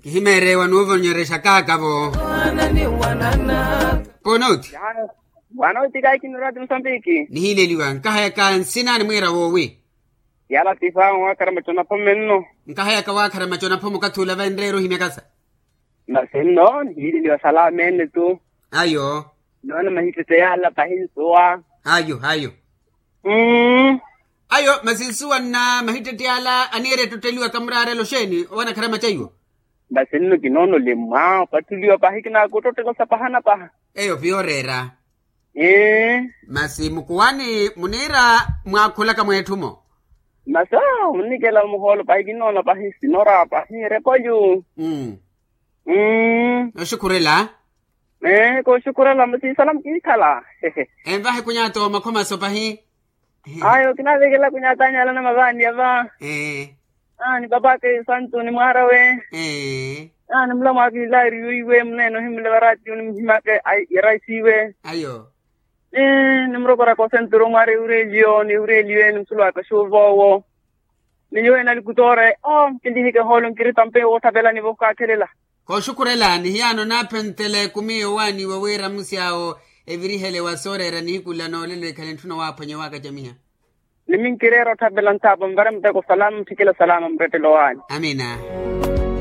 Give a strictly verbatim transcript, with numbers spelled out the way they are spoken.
Nihimeere wanuuvonyerexa kaakavo. Ponoti. Wanoti kayi kinirati musambiki. Nihileliwa nkahayaka nsina ni mwiira woowi. Yala tifa wakhara macho naphome nno. Nkahayaka wakhara macho naphome okathi ula venreere ohimyakasa. Masi nno nihileliwa salame nne tu. Ayo. Noona mahittette yala pahi nsuwa. Ayo ayo. Mmm. Ayo masi nsuwa nna mahittette yala aniire ettotteliwa kamuraarelo xeeni owanakharama caiwo. Masi nno kinoona olimwa opattuliwa pahi kinaaka ottottela osapahana paha. Eyo piyo oreera. Masi mukuwani muniira mwaakhulaka mweetthu-mo. Masi oo munnikela muhoolo pahi kinoona pahi sinora pahi erepolyu. Oxukhurela. Ee kooxukhurela masi isalamu kiikhala. Envahe kunyata omakhomaso pahi. Ayo kinaavikela kunyata anyala namavaani ava. Ee. Aani papaka esantu ni mwaarawe. Ee. Aani mulamwaaka ilaari yoiwe muneene ohimulevara atiyo ni muhimaka. Yaraisiwe. Ayo. Ee ni murokoraka osenturu mwaara ehureliyo ni ehureliwe ni musulwaka xuuva owo. Ni nyuwe nalikutoore oo nkilihike hoolo nkiritampe woothapelani vokaakhelela. Kooxukhurelani hiyaano naaphentela ekumi yowaaniwa wira musyawo evirihele wa sooreera nihiku nla noolelo ekhale ntthuna waaphwanya waakacamiha. Ni minkireera otthapela nthaapo nvare muteko salama mutthikela salama murettelo waani. Amiina.